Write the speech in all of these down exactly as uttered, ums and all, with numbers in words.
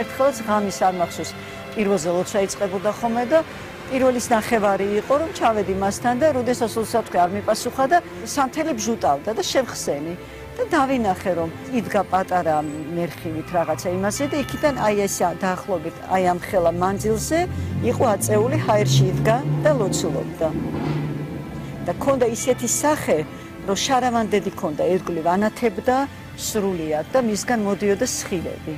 ერთხელაც ღამის არ მახსოვს პირველზე ლოცვა იწყებოდა ხოლმე და პირველის ნახევარი იყო რომ ჩავედი მასთან და როდესაც ლოცვა არ მიპასუხა და სანთელი ბჟუტავდა და შევხსენი და დავინახე რომ იდგა პატარა მერხივით რაღაცა იმასე და იქიდან აი ეს დაახლოებით აი ამ ხელა მანძილზე იყო აწეული ჰაერში იდგა და ლოცულობდა და ქონდა ისეთი სახე რომ შარავანდედი ქონდა ერთგულივ ანათებდა სრულიად და მისგან მოდიოდა სხილები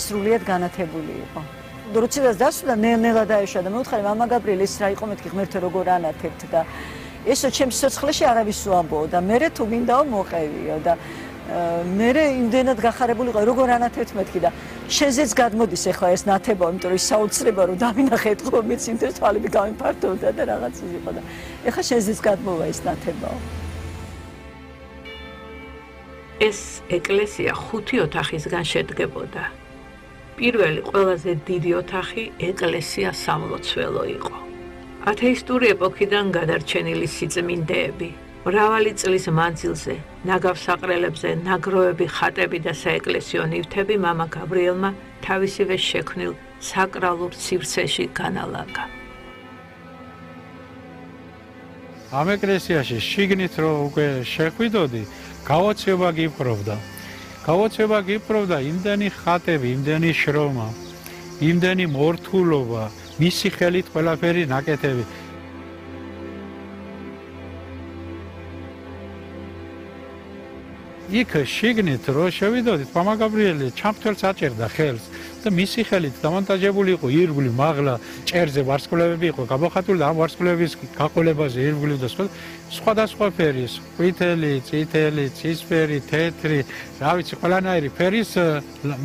სრულიად განათებული იყო როცა დასვლა ნელ-ნელა დაეშვა და მეუთხარი მამა გაბრიელი ეს რა იყო მეთქი ღმერთო როგორ ანათებთ და ესო ჩემს სიცოცხლეში არავის უამბო და მე თუ მინდაო მოყევიო და მე იმდენად გახარებული იყო როგორ ანათებთ მეთქი და შენზეც გადმოდის ახლა ეს ნათება იმიტომ რომ ის საოცრება რომ დავინახე ეთქო მეცინდეს თვალები გამიფართოვდა და რაღაც იყო და ახლა შენზეც გადმოვა ეს ნათებაო ეს ეკლესია ხუთი ოთახისგან შედგებოდა პირველი ყველაზე დიდი ოთახი ეკლესია სამლოცველო იყო ათეისტური ეპოქიდან გადარჩენილი სიწმინდეები მრავალი წლის მანძილზე ნაგავსაყრელებზე ნაგროვები ხატები და საეკლესიო ნივთები მამა გაბრიელმა თავისივე შექმნილ საკრალურ სივრცეში განალაგა ამ ეკლესიაში შიგნით რო უკვე შეხვიდოდი გაოცება გიპყრობდა გაოცება გიპყრობდა იმდენი ხატები იმდენი შრომა იმდენი მორთულობა მისი ხელით ყველაფერი ნაკეთები იქ შიგნით რო შევიდოდით მამა გაბრიელი ჩამთველს აჭერდა ხელს და მისი ხელით დამონტაჟებული იყო ირგვლივ მაღლა ჭერზე ვარსკვლავები იყო გამოხატული და ამ ვარსკვლავების გაყოლებაზე ირგვლივ და სხვადასხვა ფერის ყვითელი, წითელი, ცისფერი, თეთრი, რა ვიცი ყველანაირი ფერის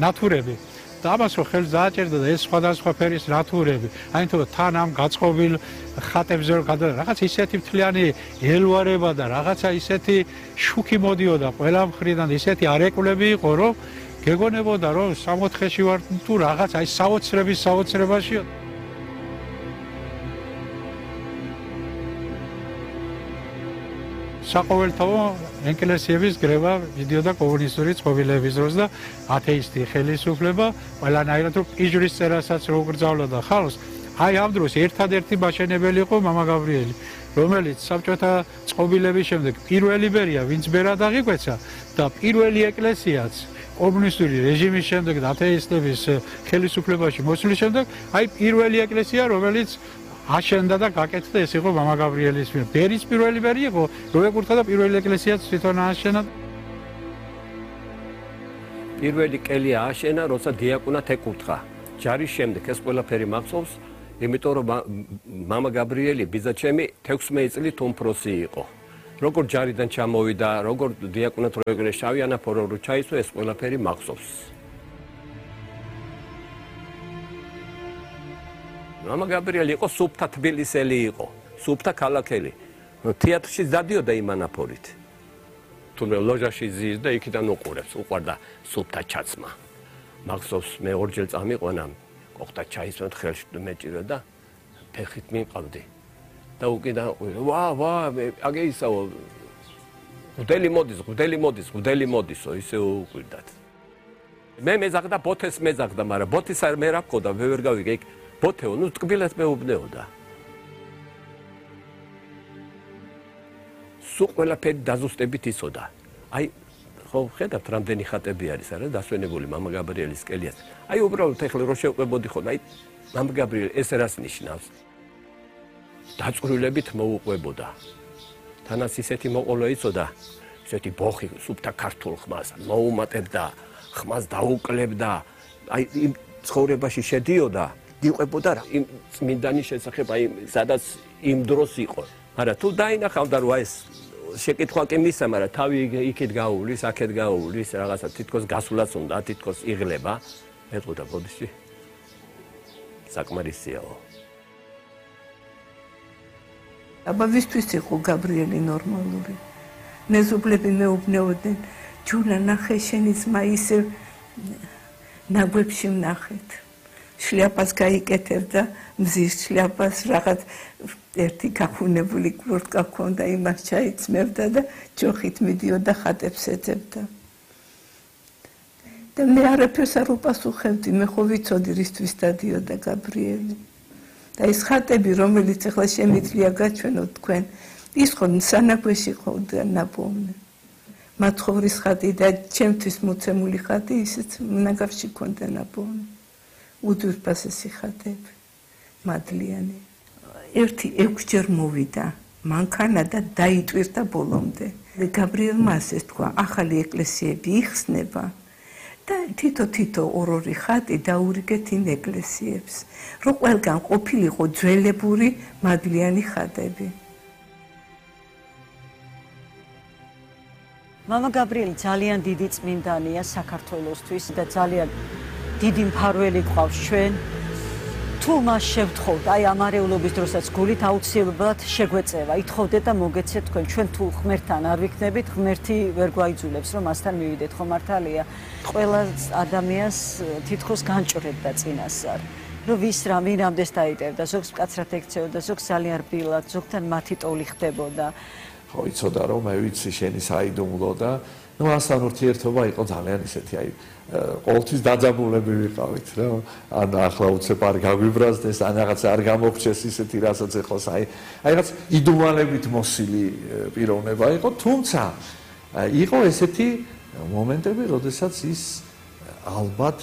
ნათურები და ამას რო ხელს დააჭერდა და ეს სხვადასხვა ფერის ნათურები აი თქო თან ამ გაწყობილ ხატებზე რო გადა რაღაც ისეთი მთლიანი ელვარება და რაღაცა ისეთი შუქი მოდიოდა ყველა მხრიდან ისეთი არეკვლები იყო რომ გეგონებოდა რომ სამოთხეში ვარ თუ რაღაც აი საოცრების საოცრებაშია საყოველთაო ეკლესიების გრევა მიდიოდა კომუნისტური წყობილების დროს და ათეისტი ხელისუფლება ყველანაირად რომ პიჟრის წერასაც რო გრძავლოდა ხალხს აი ამ დროს ერთადერთი მაშენებელი იყო მამა გაბრიელი რომელიც საბჭოთა წყობილების შემდეგ პირველი ბერია ვინც ბერად აღიკვეცა და პირველი ეკლესიაც კომუნისტური რეჟიმის შემდეგ და ათეისტების ხელისუფლებაში მოსვლის შემდეგ აი პირველი ეკლესია რომელიც აშენდა და გაკეთდა ეს იყო მამა გაბრიელის მიერ. ბერის პირველი ბერი იყო, რომ ეკურთხა და პირველი ეკლესიაც თვითონ ააშენა. პირველი კელი ააშენა, როცა დიაკვნად ეკურთხა. ჯარის შემდეგ ეს ყველაფერი მახსოვს, იმიტომ რომ მამა გაბრიელი ბიძაჩემი თექვსმეტ წლით უმცროსი იყო. როგორ ჯარიდან ჩამოვიდა, როგორ დიაკვნად რო ეგრე შავი ანაფორო რო ჩაისვა, ეს ყველაფერი მახსოვს. მამა გაბრიელი იყო სუფთა თბილისელი იყო, სუფთა ქალაქელი. თეატრში დადიოდა იმ ანაფორით. თუმცა ლოჟაში ზის და იქიდან უყურებს, უყვარდა სუფთა ჩაცმა. მახსოვს მე ორჯერ წამიყვანა, ყოხთა ჩაისვენ ხელში მეჭირა და ფეხით მიყავდი. და უკიდან ვა ვა აგე ისაო გუდელი მოდის, გუდელი მოდის, გუდელი მოდისო, ისე უყვირდათ. მე მეძახდა ბოთეს მეძახდა, მაგრამ ბოთის არ მე რა მქონდა, მე ვერ გავიგე იქ ბოთეო, ნუ ტკბილად მეუბნეოდა. სულ ყველაფერი დაზუსტებით იცოდა. აი, ხო ხედავთ, რამდენი ხატები არის, არა, დასვენებული მამა გაბრიელის კელიას. აი, უბრალოდ ეხლა რო შევყვებოდი ხო, აი, მამა გაბრიელი ეს რას ნიშნავს? დაწვრილებით მოუყვებოდა. თანაც ისეთი მოყოლო იცოდა, ისეთი ბოხი სუფთა ქართულ ხმას მოუმატებდა, ხმას დაუკლებდა. აი, იმ ცხოვრებაში შედიოდა. იყვებოდა რა იმ წმინდანის შესახებ აი სადაც იმ დროს იყო. მაგრამ თუ დაინახავდა რომ ეს შეკითხვა კი მისცა, მაგრამ თავი იქით გაუვლის, აქეთ გაუვლის, რაღაცა თითქოს გასულაც უნდა, თითქოს იღლება. ეტყოდა ბოდიში. საკმარისიაო. აბა ვისთვის იყო გაბრიელი ნორმალური? მეზობლები მეუბნეოდნენ, ჯუნა ნახე შენი ძმა ისე ნაგვებში ვნახეთ. შლიაპას გაიკეთებდა, მზის შლიაპას რაღაც ერთი გახუნებული კურტკა ჰქონდა, იმას ჩაიცმევდა და ჯოხით მიდიოდა ხატებს ეძებდა. და მე არაფერს არ უპასუხებდი, მე ხო ვიცოდი რისთვის დადიოდა გაბრიელი. და ეს ხატები, რომელიც ახლა შემიძლია გაჩვენოთ თქვენ, ის ხო სანაგვეში ხო ნაპოვნი. მათხოვრის ხატი და ჩემთვის მოცემული ხატი ისიც ნაგავში ქონდა ნაპოვნი. უდურპასესი ხატები, მადლიანი. ერთი ექვსჯერ მოვიდა მანქანა და დაიტვირთა ბოლომდე. გაბრიელმა ასეც თქვა, ახალი ეკლესიები იხსნება და თითო-თითო ორ-ორი ხატი დაურიგეთ იმ ეკლესიებს, რომ ყველგან ყოფილიყო ძველებური მადლიანი ხატები. მამა გაბრიელი ძალიან დიდი წმინდანია საქართველოსთვის და ძალიან დიდი მფარველი გვყავს ჩვენ. თუ მას შევთხოვთ, აი ამ არეულობის დროსაც გულით აუცილებლად შეგვეწევა, ითხოვდეთ და მოგეცეთ თქვენ, ჩვენ თუ ღმერთთან არ ვიქნებით, ღმერთი ვერ გვაიძულებს, რომ მასთან მივიდეთ, ხო მართალია? ყველა ადამიანს თითქოს განჭრევდა წინასწარ, რომ ვის რა ვინამდეს დაიტევდა, ზოგს მკაცრად ექცეოდა, ზოგს ძალიან რბილად, ზოგთან მათი ტოლი ხდებოდა. ხო, იცოდა რომ მე ვიცი შენი საიდუმლო და ნუ ასთან ურთიერთობა იყო ძალიან ისეთი, აი ყოველთვის დაძაბულები ვიყავით, რა. ან ახლა უცებ არ გაგვიბრაზდეს, ან რაღაც არ გამოგჩეს ისეთი, რასაც ეხლას აი, აი რაღაც იდუმალებით მოსილი პიროვნება იყო, თუმცა იყო ესეთი მომენტები, როდესაც ის ალბათ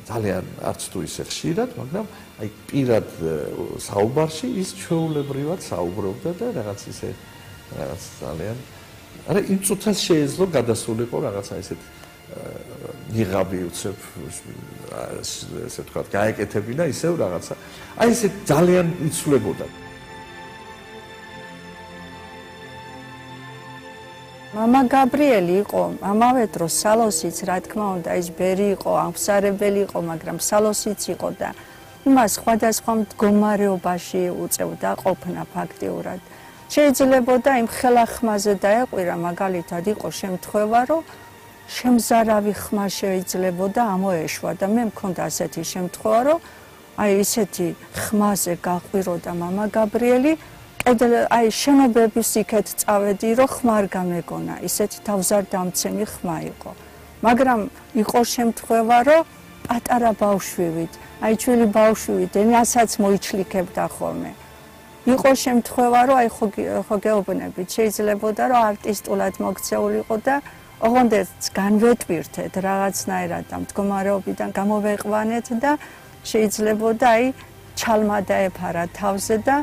ძალიან არც თუ ისე ხშირად, მაგრამ აი პირად საუბარში ის ჩვეულებრივად საუბრობდა და რაღაც ისე რაღაც ძალიან არა იმ წუთას შეეძლო გადასულიყო რაღაცა ისეთი ნიღაბი უცებ ესე ვთქვათ გაეკეთებინა ისევ რაღაცა აი ესე ძალიან იცვლებოდა. მამა გაბრიელი იყო ამავე დროს სალოსიც, რა თქმა უნდა, ის ბერი იყო, ამხსარებელი იყო, მაგრამ სალოსიც იყო და იმას სხვადასხვა მდგომარეობაში უწევდა ყოფნა ფაქტიურად. შეიძლებოდა იმ ხელახმაზე დაეყვირა, მაგალითად იყო შემთხვევა, რომ შემზარავი ხმა შეიძლებოდა ამოეშვა და მე მქონდა ასეთი შემთხვევა, რომ აი ისეთი ხმაზე გაყვიროდა მამა გაბრიელი, კიდე აი შენობების იქეთ წავედი, რომ ხმა არ გამეგონა, ისეთი თავზარდამცემი ხმა იყო. მაგრამ იყო შემთხვევა, რომ პატარა ბავშვივით, აი ჩვილი ბავშვივით ენასაც მოიჩლიქებდა ხოლმე. იყო შემთხვევა, რომ აი ხო გეუბნებით, შეიძლებოდა, რომ არტისტულად მოქცეულიყო და ოღონდ განვეტვირთეთ რაღაცნაირად და მდგომარეობიდან გამოვეყვანეთ და შეიძლებოდა აი ჩალმა დაეფარა თავზე და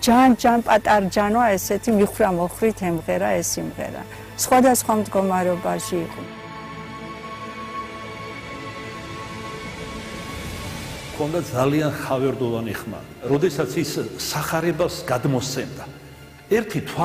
ჯან-ჯან პატარჯანო ესეთი მიხრა-მოხრით ემღერა ეს სიმღერა. სხვადასხვა მდგომარეობაში იყო. ქონდა ძალიან ხავერდოვანი ხმა. როდესაც ის სახარებას გადმოსცემდა. ერთი თვალი